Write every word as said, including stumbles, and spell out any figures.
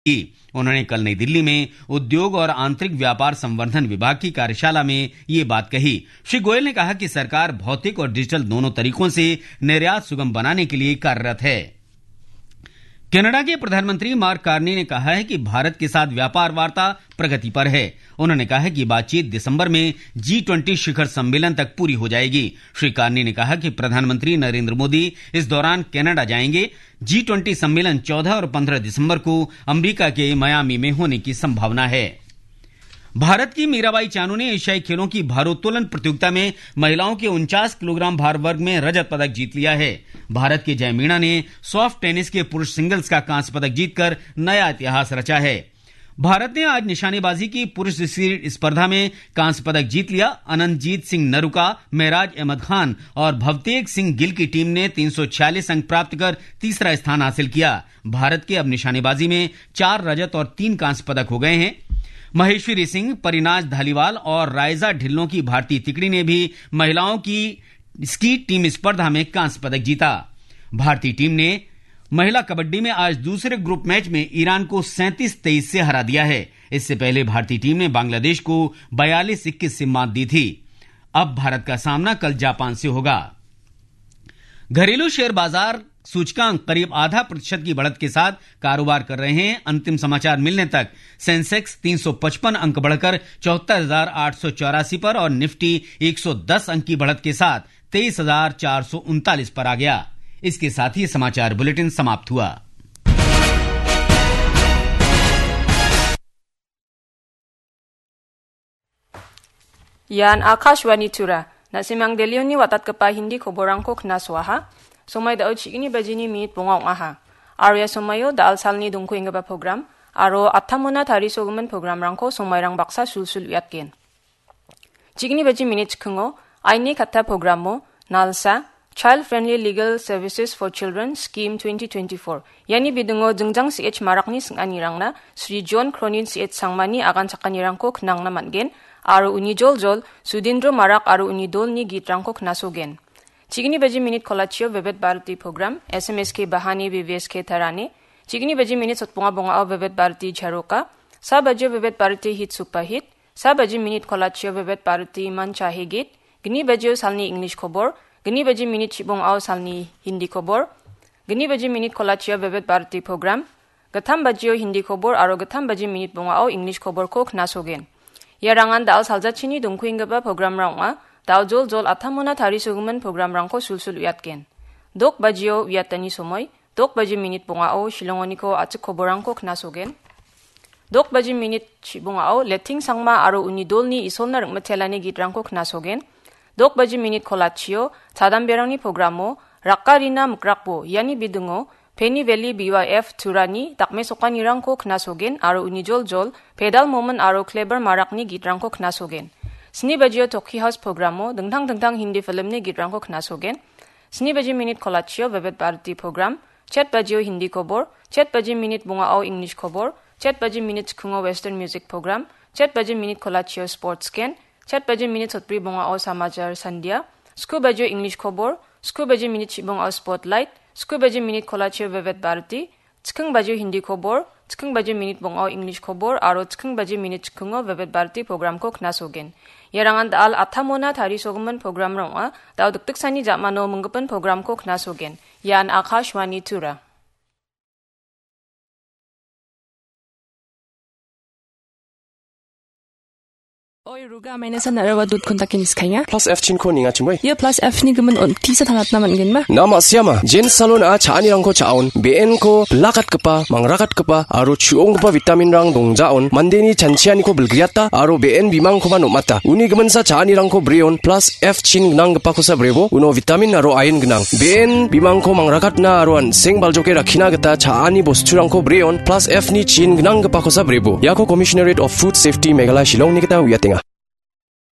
की। उन्होंने कल नई दिल्ली में उद्योग और आंतरिक व्यापार संवर्धन विभाग की कार्यशाला में ये बात कही। श्री गोयल ने कहा कि सरकार भौतिक और डिजिटल दोनों तरीकों से निर्यात सुगम बनाने के लिए कार्यरत है। कनाडा के प्रधानमंत्री मार्क कार्नी ने कहा है कि भारत के साथ व्यापार वार्ता प्रगति पर है। उन्होंने कहा है कि बातचीत दिसंबर में जी ट्वेंटी शिखर सम्मेलन तक पूरी हो जाएगी। श्री कार्नी ने कहा कि प्रधानमंत्री नरेंद्र मोदी इस दौरान कनाडा जाएंगे। जी ट्वेंटी सम्मेलन चौदह और पन्द्रह दिसंबर को अमेरिका के मियामी में होने की संभावना है। भारत की मीराबाई चानू ने एशियाई खेलों की भारोत्तोलन प्रतियोगिता में महिलाओं के उनचास किलोग्राम भार वर्ग में रजत पदक जीत लिया है। भारत के जय मीणा ने सॉफ्ट टेनिस के पुरुष सिंगल्स का कांस्य पदक जीतकर नया इतिहास रचा है। भारत ने आज निशानेबाजी की पुरुष सीरीज स्पर्धा में कांस्य पदक जीत लिया। अनंतजीत सिंह नरुका, मेराज अहमद खान और भवतेज सिंह गिल की टीम ने तीन सौ छियालीस अंक प्राप्त कर तीसरा स्थान हासिल किया। भारत के अब निशानेबाजी में चार रजत और तीन कांस्य पदक हो गए हैं। महेश्वरी सिंह, परिनाज धालीवाल और राइजा ढिल्लों की भारतीय तिकड़ी ने भी महिलाओं की स्की टीम स्पर्धा में कांस्य पदक जीता। भारतीय टीम ने महिला कबड्डी में आज दूसरे ग्रुप मैच में ईरान को सैंतीस तेईस से हरा दिया है। इससे पहले भारतीय टीम ने बांग्लादेश को बयालीस इक्कीस से मात दी थी। अब भारत का सामना कल जापान से होगा। घरेलू शेयर बाजार सूचकांक करीब आधा प्रतिशत की बढ़त के साथ कारोबार कर रहे हैं। अंतिम समाचार मिलने तक सेंसेक्स तीन सौ पचपन अंक बढ़कर चौहत्तर हजार आठ सौ चौरासी पर और निफ्टी एक सौ दस अंक की बढ़त के साथ तेईस हजार चार सौ उनतालीस पर आ गया। इसके साथ ही समाचार बुलेटिन समाप्त हुआ। Ian Akashvani Tura. Na·simang Delhioni watatgipa Hindi koborangko knasoaha. Somai da·o chigni bajini minit bonga ong·aha. Aro ia somaio da·al salni dongko enggipa program, aro attamona tarisogimin programrangko somairang baksa sulsul uiatgen. Chigni baji minit chikingo, aini katta programo, Nalsa, Child Friendly Legal Services for Children Scheme twenty twenty-four. Iani bidingo jingjang C H Marakni sing·anirangna Sri John Cronin C H Sangmani agan chakanirangko knangna man·gen, aro uni joljol Sudindro Marak aro uni dolni gitrangko knasogen. Chigni baji minit kolachio Vividh Bharati program, S M S K Bahani B V S K Tarani. Chigni baji minit sotbonga bongao Vividh Bharati Jharoka. Sa bajio Vividh Bharati Hit Super Hit. Sa baji minit kolachio Vividh Bharati Mancha Hegit. Gni bajio salni English kobor. Gni baji minit chibongao salni Hindi kobor. Gni baji minit kolachio Vividh Bharati program. Gittam bajio Hindi kobor aro gittam baji minit bongao English koborko knasogen. Iarangan da·al saljachini dongkuenggipa programrang ong·a. Da·o joljol attamona tarisogimin programrangko sulsul uiatgen. Dok bajio uiatani somoi, dok baji minit bongao Shillongoniko a·chik koborangko knasogen. Dok baji minit chibongao Letting Sangma aro uni dolni Isolna ring·mitelani gitrangko knasogen. Dok baji minit kolachio chadamberangni programo Rakkarina Mikrakbo, iani bidingo Penny Valley B Y F Turani dakmesokanirangko knasogen aro uni joljol Pedal Momin aro Kleber Marakni gitrangko knasogen. Sni bajio Toki House programo dingtang dingtang Hindi filmni gitrangko knasogen. Sni baji minit kolachio Vividh Bharati program, chet bajio Hindi kobor, chet baji minit bongao English kobor, chet baji minit chikingo Western music program, chet baji minit kolachio sports gen, chet baji minit sotbri bongao Samachar Sandhya, sku bajio English kobor, sku baji minit chibongao spotlight, sku baji minit kolachio Vividh Bharati, chiking bajio Hindi kobor, chiking bajio minit bongao English kobor, aro chiking bajio minit chikingo Vividh Bharati programko knasogen. Iarangan da·al attamona tarisogimin programrang ong·a, da·o dikdiksani ja·mano minggipin programko knasogen. Ian Akashvani Tura. Oi, ruga, maina san narawa dot kun takin iskainga. Plus F chinko ninga chimoi. Ia plus F ni gimin on tisa tangatna man gen ma. Nama siama, Jen Salon a cha·anirangko cha·on, B N ko bilakatgipa, mangrakatgipa, aro chu·onggipa vitamin rang dongjaon, mandeni chanchianiko bilgriata, aro B N bimangkoba nomata. Uni giminsa cha·anirangko breon, plus F chin gnanggipakosa brebo, uno vitamin aro iron gnang. B N bimangko mangrakatna aro an·seng baljoke rakkina gita cha·ani bosturangko breon, plus F ni chin gnanggipakosa brebo. Iako Commissionerate of Food Safety Meghalaya Shillongni gita uiatenga.